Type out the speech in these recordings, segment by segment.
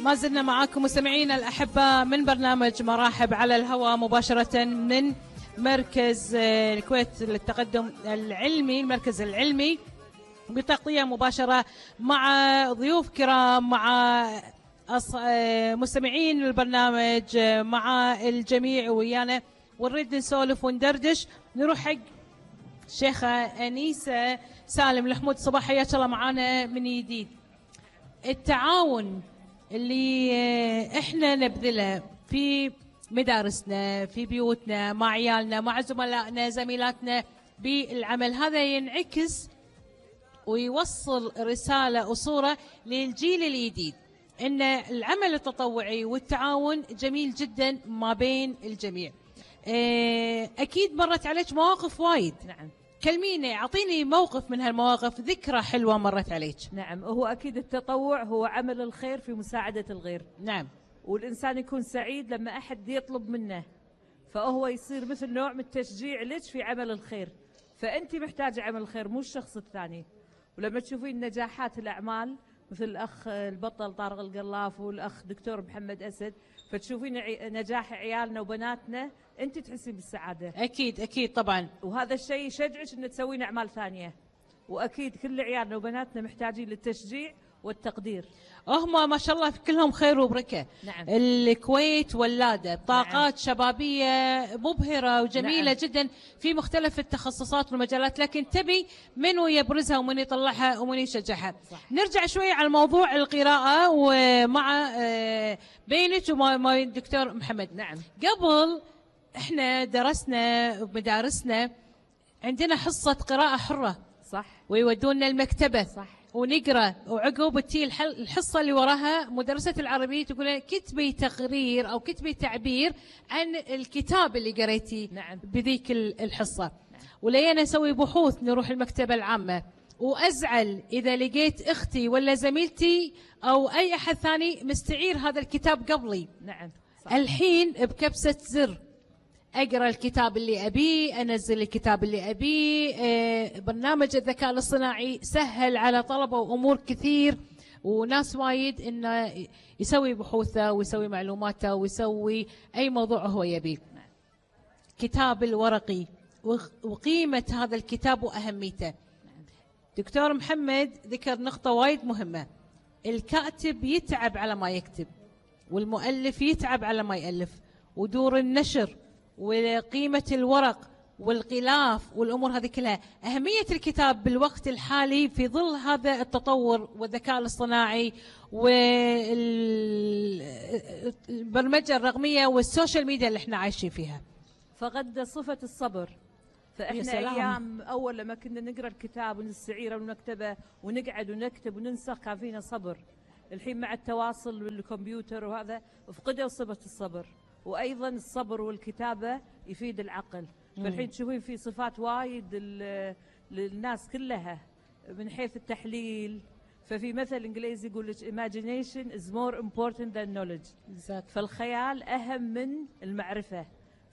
ما زلنا معاكم مستمعينا الأحباء من برنامج مراحب على الهواء مباشرة من مركز الكويت للتقدم العلمي، المركز العلمي، بتغطية مباشرة مع ضيوف كرام، مع مستمعين البرنامج، مع الجميع ويانا، ونريد نسولف وندردش. نروح حق شيخة أنيسة سالم الحمود. صباح حياك الله معانا من جديد. التعاون اللي احنا نبذله في مدارسنا، في بيوتنا، مع عيالنا، مع زملائنا، زميلاتنا بالعمل، هذا ينعكس ويوصل رسالة وصورة للجيل الجديد ان العمل التطوعي والتعاون جميل جدا ما بين الجميع. اكيد مرت عليك مواقف وايد. نعم. كلميني، اعطيني موقف من هالمواقف، ذكرى حلوة مرت عليك. نعم، هو اكيد التطوع هو عمل الخير في مساعدة الغير. نعم. والإنسان يكون سعيد لما أحد يطلب منه، فهو يصير مثل نوع من التشجيع لك في عمل الخير. فأنت محتاجة عمل الخير مو الشخص الثاني. ولما تشوفين نجاحات الأعمال مثل الأخ البطل طارق القلاف والأخ دكتور محمد أسد، فتشوفين نجاح عيالنا وبناتنا، أنت تحسين بالسعادة. أكيد أكيد طبعا. وهذا الشيء يشجعك أن تسوين أعمال ثانية. وأكيد كل عيالنا وبناتنا محتاجين للتشجيع والتقدير. هم ما شاء الله كلهم خير وبركة. نعم. الكويت ولادة طاقات نعم. شبابية مبهرة وجميلة. نعم. جدا في مختلف التخصصات والمجالات، لكن تبي منو يبرزها ومن يطلعها ومن يشجعها. صح. نرجع شوي على موضوع القراءة ومع بينك وما الدكتور محمد. نعم. قبل احنا درسنا بمدارسنا عندنا حصة قراءة حرة. صح. ويودونا المكتبة. صح. ونقرأ، وعقب تي الحصة اللي وراها مدرسة العربية تقول كتبي تقرير أو كتبي تعبير عن الكتاب اللي قريتيه. نعم. بذيك الحصة. نعم. ولينا نسوي بحوث، نروح المكتبة العامة، وأزعل إذا لقيت أختي ولا زميلتي أو أي أحد ثاني مستعير هذا الكتاب قبلي. نعم. صح. الحين بكبسة زر أقرأ الكتاب اللي أبيه، أنزل الكتاب اللي أبيه. برنامج الذكاء الاصطناعي سهل على طلبة وأمور كثير، وناس وايد إنه يسوي بحوثه ويسوي معلوماته ويسوي أي موضوع هو يبيه. كتاب الورقي وقيمة هذا الكتاب وأهميته. دكتور محمد ذكر نقطة وايد مهمة. الكاتب يتعب على ما يكتب، والمؤلف يتعب على ما يألف، ودور النشر وقيمة الورق والغلاف والأمور هذه كلها. أهمية الكتاب بالوقت الحالي في ظل هذا التطور والذكاء الاصطناعي والبرمجة الرقمية والسوشيال ميديا اللي احنا عايشين فيها. فقد صفة الصبر. فإحنا أيام أول لما كنا نقرأ الكتاب ونستعيره من المكتبة ونقعد ونكتب وننسخ كان فينا صبر. الحين مع التواصل والكمبيوتر وهذا فقدوا صفة الصبر. وأيضا الصبر والكتابة يفيد العقل. فالحين تشوفين في صفات وايد للناس كلها من حيث التحليل. ففي مثل إنجليزي يقول لك imagination is more important than knowledge. فالخيال أهم من المعرفة.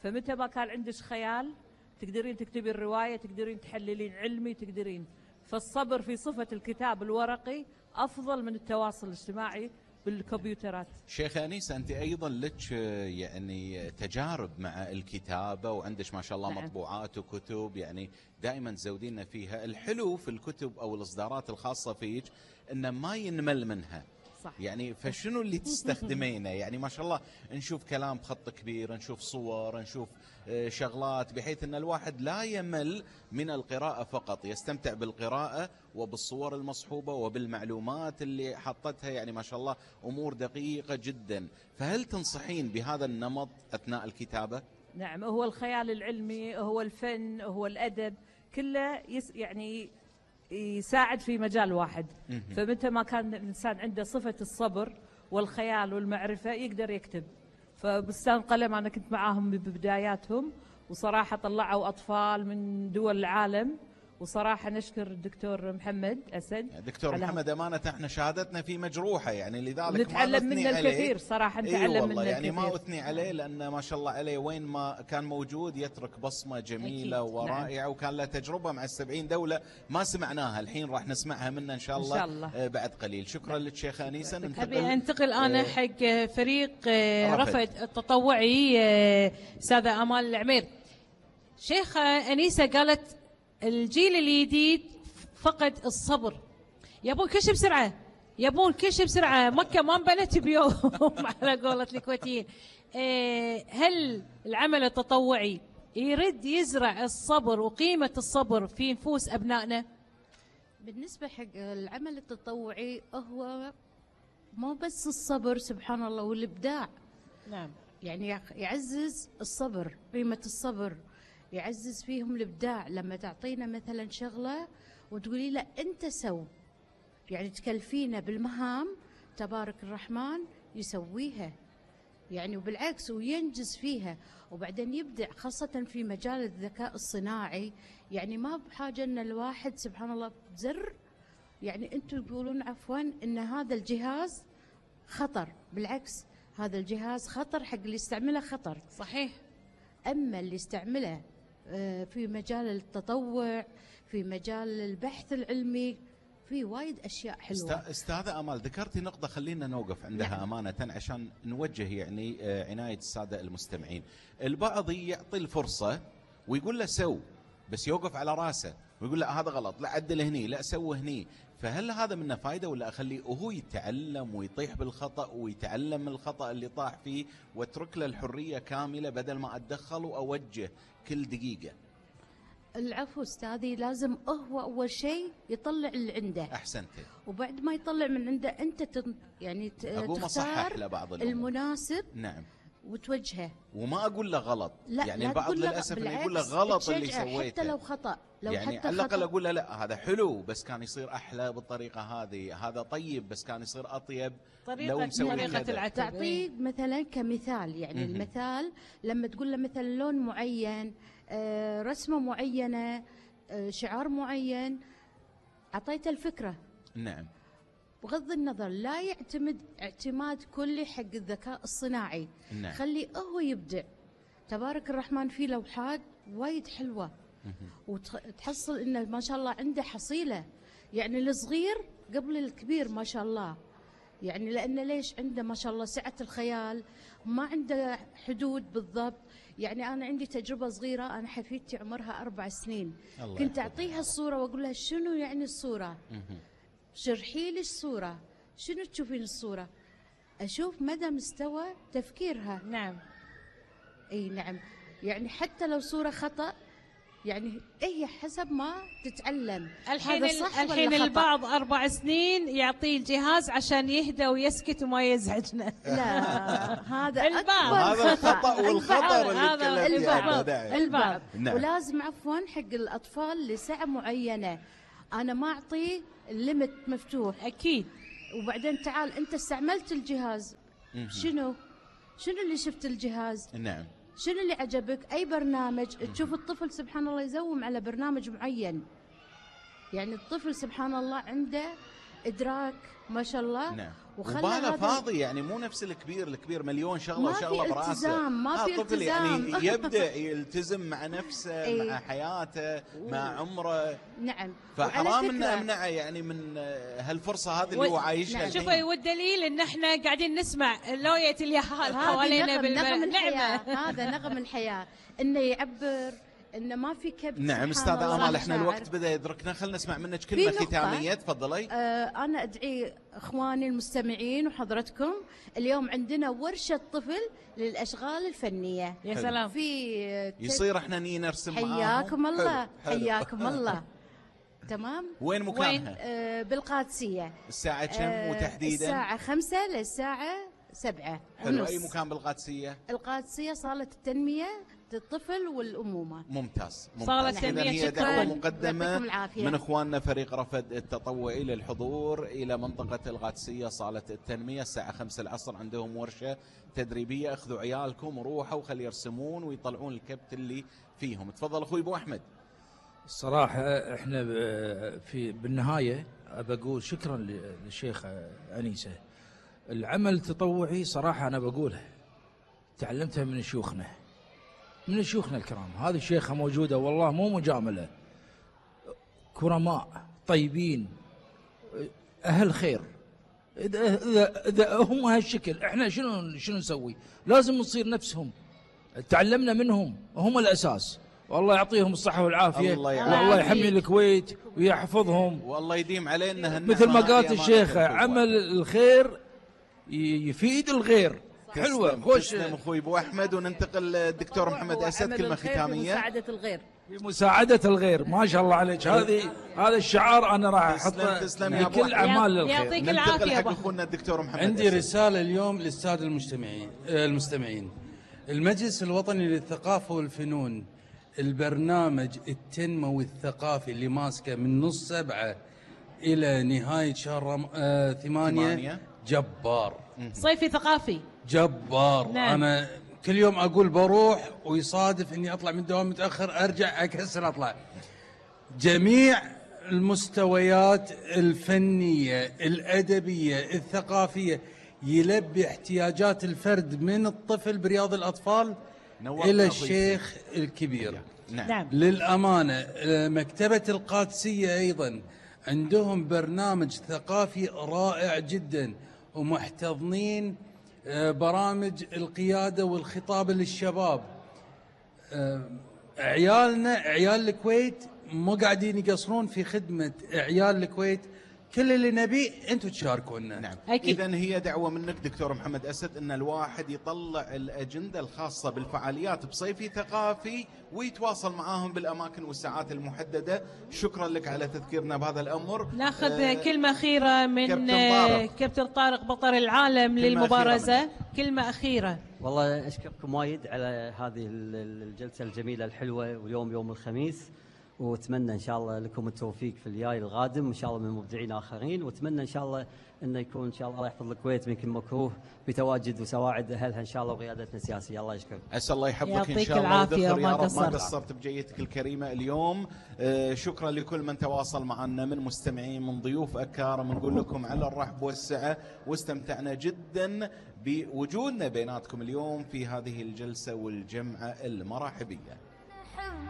فمتى ما كان عندك خيال تقدرين تكتبين الرواية، تقدرين تحللين علمي، تقدرين. فالصبر في صفة الكتاب الورقي أفضل من التواصل الاجتماعي بالكمبيوترات. شيخة أنيسة، أنت أيضا لك يعني تجارب مع الكتابة، وعندك ما شاء الله نعم. مطبوعات وكتب، يعني دائما تزودينا فيها. الحلو في الكتب أو الإصدارات الخاصة فيك إن ما ينمل منها. صح. يعني فشنو اللي تستخدمينه؟ يعني ما شاء الله نشوف كلام بخط كبير، نشوف صور، نشوف شغلات، بحيث أن الواحد لا يمل من القراءة فقط، يستمتع بالقراءة وبالصور المصحوبة وبالمعلومات اللي حطتها. يعني ما شاء الله أمور دقيقة جدا. فهل تنصحين بهذا النمط أثناء الكتابة؟ نعم، هو الخيال العلمي، هو الفن، هو الأدب، كله يعني يساعد في مجال واحد. فمتى ما كان الإنسان عنده صفة الصبر والخيال والمعرفة يقدر يكتب. فبستان قلم أنا كنت معاهم ببداياتهم، وصراحة طلعوا أطفال من دول العالم وصراحة نشكر الدكتور محمد أسد. دكتور محمد أمانة احنا شهادتنا في مجروحة، يعني لذلك نتعلم منه الكثير صراحة، نتعلم منه يعني الكثير. ما أثني عليه لأن ما شاء الله عليه وين ما كان موجود يترك بصمة جميلة ورائعة. نعم. وكان له تجربة مع 70 دولة ما سمعناها، الحين راح نسمعها منه إن شاء الله, إن شاء الله. بعد قليل. شكرا لك شيخ أنيسة. أبي أنتقل أنا حق فريق رفد التطوعي سادة أمال العمير. شيخ أنيسة قالت الجيل الجديد فقد الصبر، يبون كل شيء بسرعة، يبون كل شيء بسرعة، مكة ما انبنت بيوم على قولة الكويتيين. هل العمل التطوعي يرد يزرع الصبر وقيمة الصبر في نفوس أبنائنا؟ بالنسبة حق العمل التطوعي هو مو بس الصبر سبحان الله والإبداع. نعم. يعني يعزز الصبر، قيمة الصبر، يعزز فيهم الإبداع. لما تعطينا مثلا شغلة وتقولي له أنت سو، يعني تكلفينا بالمهام، تبارك الرحمن يسويها، يعني وبالعكس وينجز فيها. وبعدين يبدع خاصة في مجال الذكاء الصناعي، يعني ما بحاجة أن الواحد سبحان الله بزر، يعني أنتم تقولون عفوا أن هذا الجهاز خطر، بالعكس هذا الجهاز خطر حق اللي يستعمله خطر. صحيح. أما اللي يستعمله في مجال التطوع، في مجال البحث العلمي، في وايد أشياء حلوة. أستاذة أمال ذكرتي نقطة خلينا نوقف عندها. نعم. أمانة عشان نوجه يعني عناية السادة المستمعين. البعض يعطي الفرصة ويقول له سو، بس يوقف على راسه ويقول لا هذا غلط، لا عدل هني، لا سو هني. فهل هذا منه فايدة ولا أخليه وهو يتعلم ويطيح بالخطأ ويتعلم من الخطأ اللي طاح فيه واترك له الحرية كاملة بدل ما أتدخل وأوجه كل دقيقة؟ العفو أستاذي، لازم هو أول شيء يطلع اللي عنده. أحسنتي. وبعد ما يطلع من عنده أنت يعني تختار المناسب. نعم. وتوجهه. وما أقول له غلط، لا يعني لا البعض للأسف إنه يقول له غلط اللي سويته، حتى لو خطأ، لو يعني حتى على الأقل أقول له لا هذا حلو بس كان يصير أحلى بالطريقة هذه، هذا طيب بس كان يصير أطيب لو مسوي كذا. تعطيه مثلا كمثال، يعني المثال لما تقول له مثلا لون معين، رسمة معينة، شعار معين، أعطيته الفكرة. نعم. بغض النظر لا يعتمد اعتماد كلي حق الذكاء الصناعي. نعم. خلي هو يبدع. تبارك الرحمن في لوحات وايد حلوة، وتحصل إنه ما شاء الله عنده حصيلة، يعني الصغير قبل الكبير ما شاء الله، يعني لأنه ليش عنده ما شاء الله سعة الخيال، ما عنده حدود بالضبط. يعني أنا عندي تجربة صغيرة، أنا حفيدتي عمرها 4 سنين، كنت أعطيها الصورة وأقول لها شنو يعني الصورة؟ شرحي لي الصورة، شنو تشوفين الصورة؟ أشوف مدى مستوى تفكيرها. نعم. أي نعم، يعني حتى لو صورة خطأ، يعني هي حسب ما تتعلم. الحين البعض 4 سنين يعطيه الجهاز عشان يهدى ويسكت وما يزعجنا. لا هذا البعض، هذا الخطأ والخطر اللي البعض. نعم. ولازم عفوا حق الأطفال لساعة معينة، أنا ما أعطيه الليمت مفتوح. أكيد. وبعدين تعال أنت استعملت الجهاز، شنو اللي شفت الجهاز؟ نعم. شنو اللي عجبك؟ أي برنامج تشوف الطفل سبحان الله يزوم على برنامج معين، يعني الطفل سبحان الله عنده إدراك ما شاء الله. نعم. وباله فاضي، يعني مو نفس الكبير مليون شغلة وشغلة براسه. ما في الطفل يعني يبدأ يلتزم مع نفسه مع حياته مع عمره. نعم. فحرام ان امنعه يعني من هالفرصة هذه اللي هو عايشها. نعم. شوفي، والدليل ان احنا قاعدين نسمع لوية اليهال حوالينا نغم الحياة. هذا نغم الحياة، انه يعبر، انه ما في كبت. نعم. استاذة امال احنا الوقت بدا يدركنا، خلنا نسمع منك كلمة ختامية. تفضلي. انا ادعي اخواني المستمعين وحضرتكم، اليوم عندنا ورشة طفل للاشغال الفنية. يا سلام. في يصير احنا نرسم معاهم. حياكم الله. حياكم الله. تمام. وين مكانها؟ بالقادسية. الساعة كم وتحديدا؟ الساعة 5 للساعة 7. حلو. أي مكان بالقادسية؟ القادسية صالة التنمية الطفل والأمومة. ممتاز. صالة التنمية. هي دعوة مقدمة من إخواننا فريق رفد التطوعي للحضور إلى منطقة القادسية صالة التنمية الساعة 5 العصر. عندهم ورشة تدريبية. اخذوا عيالكم وروحوا وخلي يرسمون ويطلعون الكبت اللي فيهم. تفضل أخوي أبو أحمد. الصراحة احنا بالنهاية بقول شكرا للشيخ أنيسة. العمل التطوعي صراحة أنا بقولها تعلمتها من شيوخنا الكرام. هذه الشيخة موجودة والله مو مجاملة، كرماء طيبين أهل خير. إذا هم هالشكل احنا شنو نسوي؟ لازم نصير نفسهم. تعلمنا منهم، هم الأساس. والله يعطيهم الصحة والعافية، والله يحمي الكويت ويحفظهم، والله يديم علينا. مثل ما قالت الشيخة عمل الخير يفيد الغير. حلوة خوش. تسلم اخوي ابو احمد. وننتقل للدكتور محمد اسد، كلمة ختامية. مساعدة الغير، بمساعدة الغير. ما شاء الله عليك. هذا الشعار انا راح احطه لكل اعمال الخير. يعطيك العافية حق اخونا الدكتور محمد عندي أسد. رسالة اليوم للسادة المستمعين. المجلس الوطني للثقافة والفنون، البرنامج التنموي الثقافي اللي ماسكه من نص 7 إلى نهاية شهر 8 جبار. صيفي ثقافي جبار. نعم. أنا كل يوم أقول بروح ويصادف أني أطلع من الدوام متأخر، أرجع أكسر أطلع. جميع المستويات الفنية الأدبية الثقافية، يلبي احتياجات الفرد من الطفل برياض الأطفال إلى الشيخ الكبير. نعم. للأمانة مكتبة القادسية أيضا عندهم برنامج ثقافي رائع جدا، ومحتضنين برامج القيادة والخطابة للشباب. عيالنا عيال الكويت مو قاعدين يقصرون في خدمة عيال الكويت. كل اللي نبيه انتم تشاركونا. نعم. أكيد. إذن هي دعوة منك دكتور محمد أسد ان الواحد يطلع الأجندة الخاصة بالفعاليات بصيفي ثقافي ويتواصل معاهم بالأماكن والساعات المحددة. شكرا لك على تذكيرنا بهذا الأمر. ناخذ كلمة أخيرة من كابتن طارق بطل العالم للمبارزة. كلمة أخيرة. والله أشكركم وايد على هذه الجلسة الجميلة الحلوة، واليوم يوم الخميس، واتمنى ان شاء الله لكم التوفيق في الجاي القادم ان شاء الله من مبدعين اخرين، واتمنى ان شاء الله انه يكون ان شاء الله الله يحفظ الكويت من كل مكروه بتواجد وسواعد اهلها ان شاء الله وقيادتنا السياسيه. الله يشكرك. اسال الله يحفظك ان يعطيك شاء الله العافية ويذخر يا وما رب ما قصرت. قصرت بجيتك الكريمه اليوم. شكرا لكل من تواصل معنا من مستمعين من ضيوف اكارم. نقول لكم على الرحب والسعه، واستمتعنا جدا بوجودنا بيناتكم اليوم في هذه الجلسه والجمعه المراحبيه.